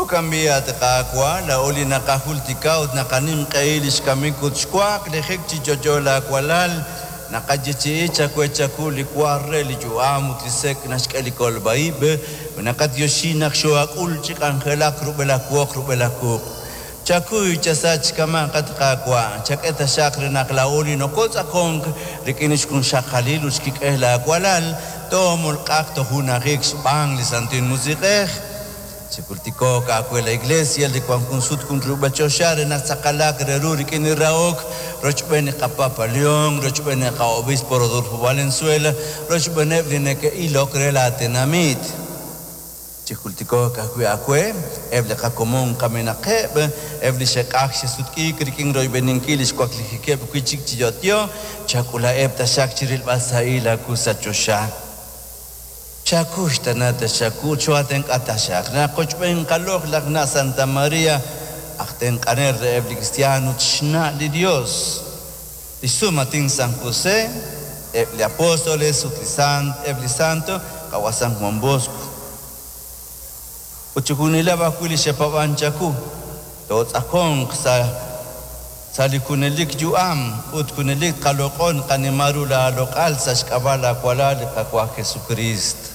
Jo'kan b'i', at Qaawa', laa'o li naqajultika ut naqanimq'ehi li xkamik ut xwaklijik chi yo'yo laawalal, naqayeechi'i chawe chaku li wa re li yu'am ut li sek' naxk'e li kolb'a ib', ut naqatyoxi naq xoo'ak'ul chi k'anjelak rub'el aawoq rub'el aaquq'. Chakuy chasach kama', at Qaawa', chak'e taxaq re naq laa'o li nokotz'aqonk rik'in xjunxaqalil ut xkik'el laawalal, toomolq'aq tojunajik xb'aan li Santil Musiq'ej. Chijultiko'q aawe la Iglesia li wank jun sut jun rub'el choxa re naq tz'aqalaq re ru rik'in li rahok, rochb'een li qaPapa León, rochb'een li qa'Obispo Rodolfo Valenzuela, rochb'eeneb' li neke'ilok re laatenamit. Chijultiko'q ajwi' aawe eb' li qakomon kamenaqeb', eb' li xe'q'ajk xe'sutq'iik rik'in royb'eninkil li xwaklijikeb' wi' chik chi yo'yo, chak'ulaheb' taxaq chi rilb'al sahil aawu sa' choxa. Chakuy tana taxaku choo'atenq'a taxaq naq qochb'een qaloq'laj na' Santa María, aj tenq'anel reheb' li kristiaan ut xna' li Dios, li xsumaatin San José, eb' li apóstoles ut li sant, eb' li santo, qawa' San Juan Bosco. Ut chixjunileb' ajwi' li xe'paab'ank chawu, tootz'aqonq sa' sa' li junelik yu'am ut junelik tqaloq'on qanima ru laaloq'al sa' xk'ab'a' laawalal li Qaawa' Jesukriist.